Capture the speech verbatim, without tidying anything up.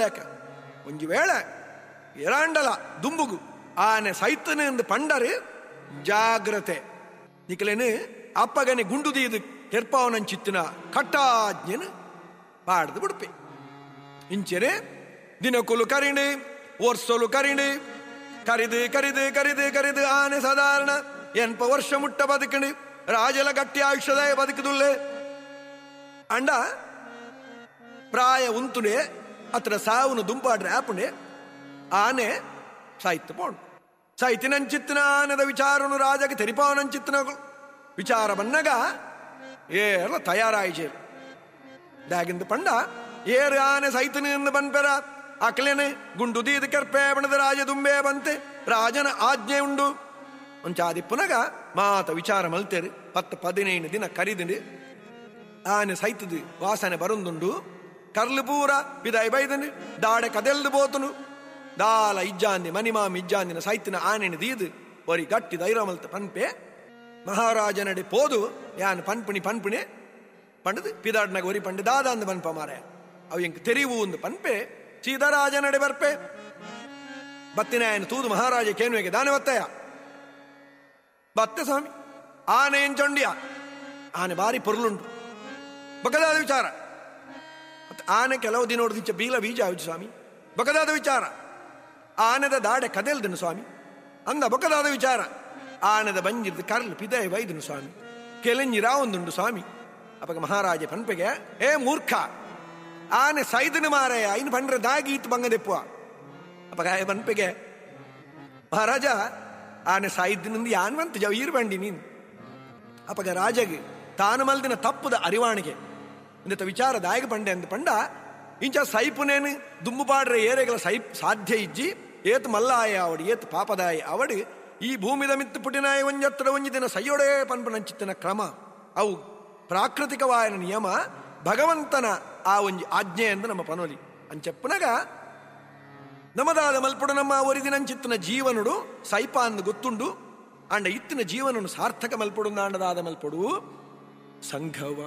ಲೇಕ ಒಂಜಿ ವೇಳೆ ಎರಾಂಡಲ ದುಂಬುಗು ಆನೆ ಸೈತನೆ ಎಂದು ಪಂಡರು ಜಾಗ್ರತೆ ನಿಕಲೇನು ಅಪ್ಪಗನೆ ಗುಂಡು ದೀದು ಕೆರ್ಪಾವನಂಚಿತ್ತಿನ ಕಟ್ಟಾಜ್ಞೆನು ಪಾಡ್ದು ಬಿಡ್ಪೆ ಇಂಚೆನೆ ದಿನಕುಲು ಕರಿಣಿ ವರ್ಷಲು ಕರಿಣಿ ಕರಿದು ಕರಿದು ಕರಿದು ಕರಿದು ಆನೆ ಸಾಧಾರಣ ಎನ್ಪ ವರ್ಷ ಮುಟ್ಟ ಬದುಕಣಿ ರಾಜಲ ಗಟ್ಟಿ ಆಯುಷ್ಯದಾಯ ಬದುಕುದುಲ್ಲೆ ಅಂಡ ಪ್ರಾಯ ಉಂತುನೆ ಅತ್ರ ಸಾವುನು ದುಂಪಾಡ್ರೆ ಆಪುಣೆ ಆನೆ ಸಾಹಿತ್ಯ ಪೋಣು ಸಾಹಿತ್ಯನಂಚಿತ್ತಿನ ಆನೆದ ವಿಚಾರನು ರಾಜಗೆ ತೆರಿಪಾವನಂಚಿತ್ತಿನ ವಿಚಾರ ಬನ್ನಗ ಏರ್ಲ ತಯಾರಾಯಿಜೆ ದಾಗಿಂದ ಪಂಡ ಏರು ಆನೆ ಸೈತನಿಂದ ಬನ್ಪೆರ ಅಕ್ಲೇನೆ ಗುಂಡು ದೀದ ಕೆರ್ಪೆ ಬಣದ ರಾಜ ದುಂಬೆ ಬಂತೆ ರಾಜನ ಆಜ್ಞೆ ಉಂಡು ಒಂಚಾದಿ ಪುನಗ ಮಾತ ವಿಚಾರ ಮಲ್ತೇರು ಪತ್ತು ಪದಿನೈದು ದಿನ ಕರಿದಿಂಡು ಆನೆ ಸೈತದು ವಾಸನೆ ಬರುಂದುಂಡು ಕರ್ಲು ಪೂರ ಬಿದಾಯಿ ಬೈದನು ದಾಡೆ ಕದೆಲ್ದು ಬೋತನು ದಾಲ ಇಜ್ಜಾಂದಿ ಮನಿಮಾಮಿ ಇಜ್ಜಾಂದಿನ ಸೈತಿನ ಆನೆನ ದೀದು ಒರಿ ಗಟ್ಟಿ ಧೈರ್ಯ ಮಲ್ತ ಪನ್ಪೆ ಮಹಾರಾಜನಡೆ ಪೋದು ಯಾನ್ ಪನ್ಪುಣಿ ಪನ್ಪುಣೆ ಪಂಡದು ಪಿದಾಡ್ನಾಗ ಒರಿ ಪಂಡು ದಾದ ಅಂದು ಪನ್ಪ ಮಾರೆ ಅವು ಎಂಕ್ ತೆರಿವು ಒಂದು ಪನ್ಪೆ ಸೀತಾರಾಜನಡೆ ಬರ್ಪೆ ಬತ್ತಿನಾಯನ ತೂದು ಮಹಾರಾಜ ಕೇನುವೆಗೆ ದಾನೆ ಬತ್ತಯ್ಯ ಬತ್ತೆ ಸ್ವಾಮಿ ಆನೆ ಎಂಚೊಂಡಿಯ ಆನೆ ಬಾರಿ ಪೊರ್ಲುಂಟು ಬಕದಾದ ವಿಚಾರ ಆನೆ ಕೆಲವು ದಿನ ನೋಡಿದ ಬೀಲ ಬೀಜ ಆವಿಜು ಸ್ವಾಮಿ ಬಕದಾದ ವಿಚಾರ ಆನೆದ ದಾಡೆ ಕದೆಲ್ದನು ಸ್ವಾಮಿ ಅಂದ ಬೊಕದಾದ ವಿಚಾರ ಆನೆದ ಬಂಜಿರ್ದು ಕರ್ಲು ಪಿದಾಯಿ ವೈದನು ಸ್ವಾಮಿ ಕೆಲೆಂಜಿ ರಾವೊಂದುಂಡು ಸ್ವಾಮಿ ಅಪಗ ಮಹಾರಾಜ ಪನ್ಪೆಗೆ ಏ ಮೂರ್ಖ ಆನೆ ಸೈದನು ಮಾರಾಯ ಇನ್ನು ಪಂಡ್ರೆ ದಾಗಿ ಇತ್ತು ಬಂಗದೆಪ್ಪುವ ಅಪಗ ಆಯ ಪನ್ಪೆಗೆ ಮಹಾರಾಜ ಆನೆ ಸಾಯಿದ್ದಿನಿಂದ ಯಾನ್ವಂತ ಜವ ಈರು ಬಂಡಿ ನೀನು ಅಪಗ ರಾಜಗೆ ತಾನು ಮಲ್ದಿನ ತಪ್ಪುದ ಅರಿವಾಣಿಗೆ ಇಂದ ವಿಚಾರ ದಾಯಕ ಪಂಡೆ ಅಂದ ಪಂಡ ಇಂಚ ಸೈಪುನೇನು ದುಂಬು ಪಾಡ್ರೆ ಏರೆಗಳ ಸೈಪ್ ಸಾಧ್ಯ ಇಜ್ಜಿ ಏತ್ ಮಲ್ಲಾಯ ಅವಡು ಏತ್ ಪಾಪದಾಯ ಅವಡು ಈ ಭೂಮಿದ ಮಿತ್ತು ಪುಟಿನಾಯ ಒಂಜತ್ರ ಒಂಜಿ ದಿನ ಸೈಯೊಡೆ ಪನ್ಪನಂಚಿತ್ತಿನ ಕ್ರಮ ಅವು ಪ್ರಾಕೃತಿಕವಾಯನ ನಿಯಮ ಭಗವಂತನ ಆ ಒಂಜಿ ಆಜ್ಞೆ ಎಂದು ನಮ್ಮ ಪನೋಲಿ ಅಂಚೆಪ್ಪನಗ ನಮದಾದ ಮಲ್ಪುಡು ನಮ್ಮ ಒರಿದಿನಂಚಿತ್ತಿನ ಜೀವನುಡು ಸೈಪ ಅಂದು ಗೊತ್ತುಂಡು ಅಂಡ ಇತ್ತಿನ ಜೀವನನು ಸಾರ್ಥಕ ಮಲ್ಪುಡು ನಾಂಡದಾದ ಮಲ್ಪುಡು ಸಂಘವ